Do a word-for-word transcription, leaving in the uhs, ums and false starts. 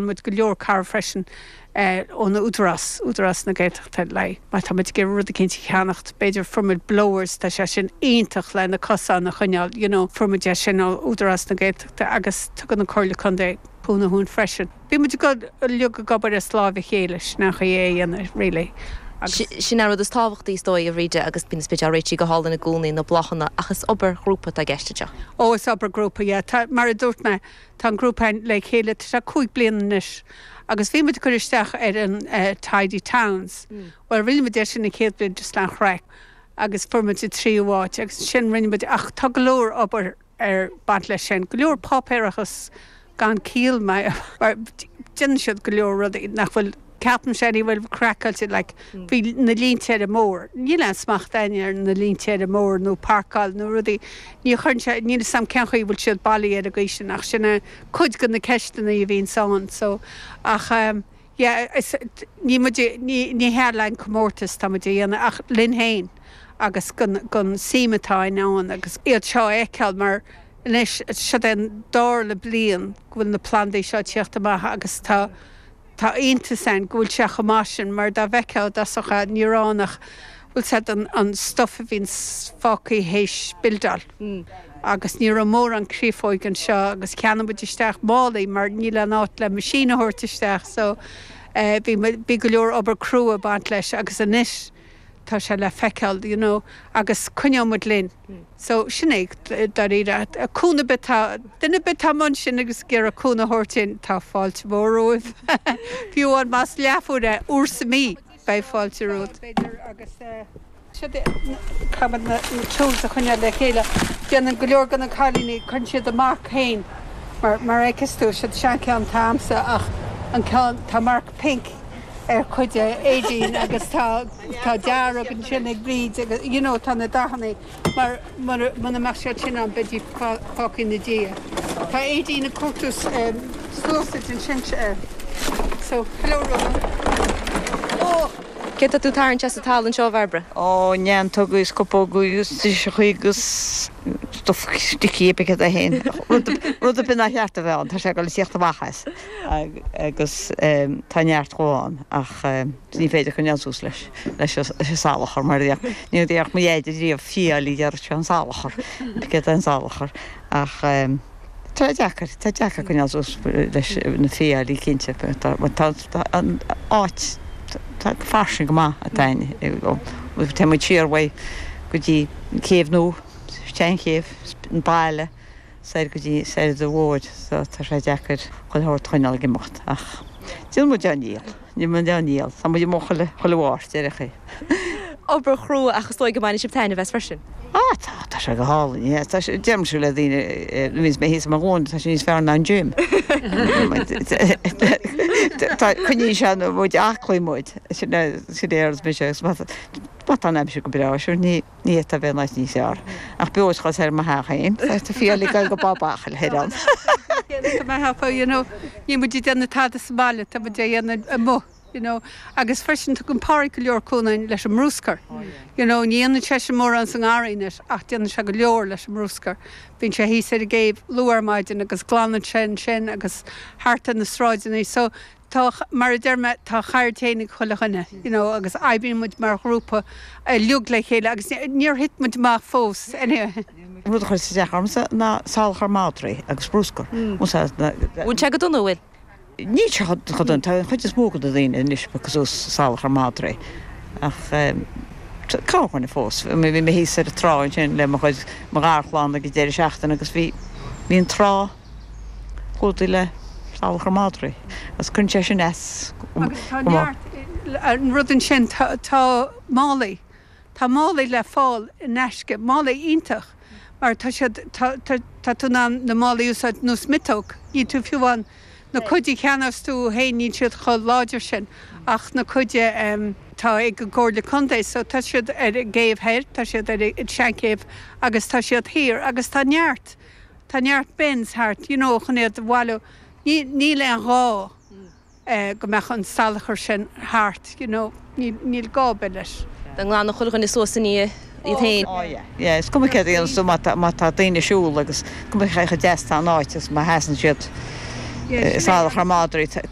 Muid go leor cabhair freisin ón Údarás Údarás na Gaeltachta le má tá muid ag rud éicint a cheannacht b'fhéidir fuair muid blowers tá sé sin iontach le na cosáin a choinneáil you know, fuair muid é sin ó Údarás na Gaeltachta agus tugann an Chomhairle Contae cúnamh dúinn freisin. Bhí muid go uilig ag obair as láimh a chéile nach é dhéanamh really. Sin an rud is tábhachtaí is dóigh a Bhríde agus bíonn spidéal réitithe go hálainn i gcónaí na bláthanna ach is obair ghrúpa atá i gceist anseo. Ó is obair grúpa yeah. Tá, mar a dúirt mé tá an grúpa le chéile tá cúig bliana anois. agus bhí muid chur isteach ar an uh, Tidy Towns. Mm. Well rinne muid sin na chéad bhliain just an chraic agus fuair muid tríú háit agus sin rinne muid ach tá go leor obair ag baint leis sin. Go leor páipéarachas gan ciall mar déanann siad go leor rudaí nach bhfuil ceapaim sé ní bhfuil craiceáilte like, bhí na línte ar an mbóthar. Níl an smacht againn ar na línte ar an mbóthar nó páirceáil nó rudaí. Ní chuireann sé níl sam cén chaoi bhfuil siad bailí ar an gcaoi sin ach sin cuid de na ceisteanna a bhíonn ann so ach um, yeah, is, ní muid ní ní hea le comórtas tá muid a dhéanamh ach linn féin agus gon gon suim atá ann agus iad seo a fheiceáil mar anois seo an dara bliain go bhfuil na plandaí seo teacht amach agus tá tá iontas ann go bhfuil sé chomh maith sin mar dá bhfeiceá socha níoránach bhfuil sé an, an stuff a bhíonn fágtha théis buildáil. Mm. Agus ní raibh mórán créafóg anseo agus cheannaigh muid isteach málaí mar níl an áit le machine a thabhairt isteach so uh, bhí bhí go leor obair crua ag baint leis agus anois tá sé le feiceáil you know, agus coinneoidh muid linn. So sin é dáiríre cúnamh atá duine atá ann sin agus ag iarraidh cúnamh a thabhairt dúinn tá fáilte mhór romhaibh. Fiú an más leathuair é uair sa mí beidh fáilte romhat. agus caithfidh na tools a choinneáil le chéile. Déanann go leor de na cailíní cuireann siad amach féin mar mar fheiceann tú siad sean ceann tamsa ach an ceann tá marc pink ar chuid Aideen agus tá tá dearg ansin ag Bríd agus you know, tá na dathanna mar muna mbeadh siad sin an beidí fágtha ina diaidh. Tá Aideen ag cuartú sluasaid ansin so hello Ronan. Oh! Cé tá tú tarraingt as an talamh anseo Bhairbre? Ó neantóga is cupóga agus agus stuff sticky be a hain. Rud bin a cheart a bheith tá sé go le tíocht amach as agus tá neart gáin ach ní féidir coinneáil suas leis leis an salachar mar ní dhéach mo dhéidir riamh fiáilí dear se an salachar be an salachar ach Tá deacair tá deacair coinneáil suas leis na fiailí cinnte tá an áit tá fairsing go maith atáin Tá muid siar uaidh go dtí céibh nó chéibh an baile soir go dtí soir de bhóid so tá sé deacair chuile shórt coinneáil ag imeacht ach Déan muid an níl, ní mu an níl, Tá muid mo chuile chuile mháirt ar chaoi. Obair chrua ach is dóigh go mbaineann sibh taitneamh as freisin. Ah tá tá sé go hálainn Deirim le daoine níos mé hí mar ghlún tá sé níos fearr ná an gym. Tá coinníonn sé muid aclaí muid sin é me sé Má tá aimsir go breá sin ní ní a bheith níos níos fearr. Ach beos chos ar mo hain Tá fiailí go babachil ar an. You know, ní muid déanamh tada sa bhaile tá muid déanamh amuigh. You know, agus freisin tugann Pádraig go leor cúnamh leis an mbruscar. You know, ní dhéanann sé sin mórán san ngarraí ach déanann sé go leor leis an mbruscar. Bíonn sé thíos ar an gcéibh luath ar maidin agus glanann sé sin agus thart ar na sráideanna, so tá mar a deir mé tá ceird féin ag chuile dhuine, you know, agus oibríonn muid mar ghrúpa uilig le chéile agus níor thit muid amach fós anyway. Rud a chuir isteach ormsa ná salachar madraí agus bruscar. Bhfuil sé go dona bhfuil? Ní chudun tá chuid is mó de daoine anois cosúil salachar madraí ach cáchuine fós bhí mé thíos ar an trá sin le mo chuid mo gharchlann ag deireadh seachtaine agus bhí bhí an trá clúdaithe le salachar madraí agus cuireann sé sin as Agus tá neart an rud ansin tá tá málaí Tá málaí le fáil in aisce, málaí iontach mar tá siad tá tá tá tú na na málaí úsáid nós miotóg, ní tú fiú an na cuid a cheannós tú féin níl siad chomh láidir sin ach na cuid um, tá ag an gComhairle Contae, so tá siad ar an gcéibh thoir, tá siad ar an seanchéibh agus tá siad thiar agus tá neart tá neart bins thart, you know, chun iad a bhailiú. Ní níl aon ghá eh, go mbeadh an salachar sin thart, you know, níl níl gá leis. Den nglan chuile dhuine suas ní iad féin. Oh yeah, yeah, is cuma céard a dhéanann tú má tá má tá daoine siúl agus cuma cé chomh deas tá an áit agus má sheasann siad Salachar madraí.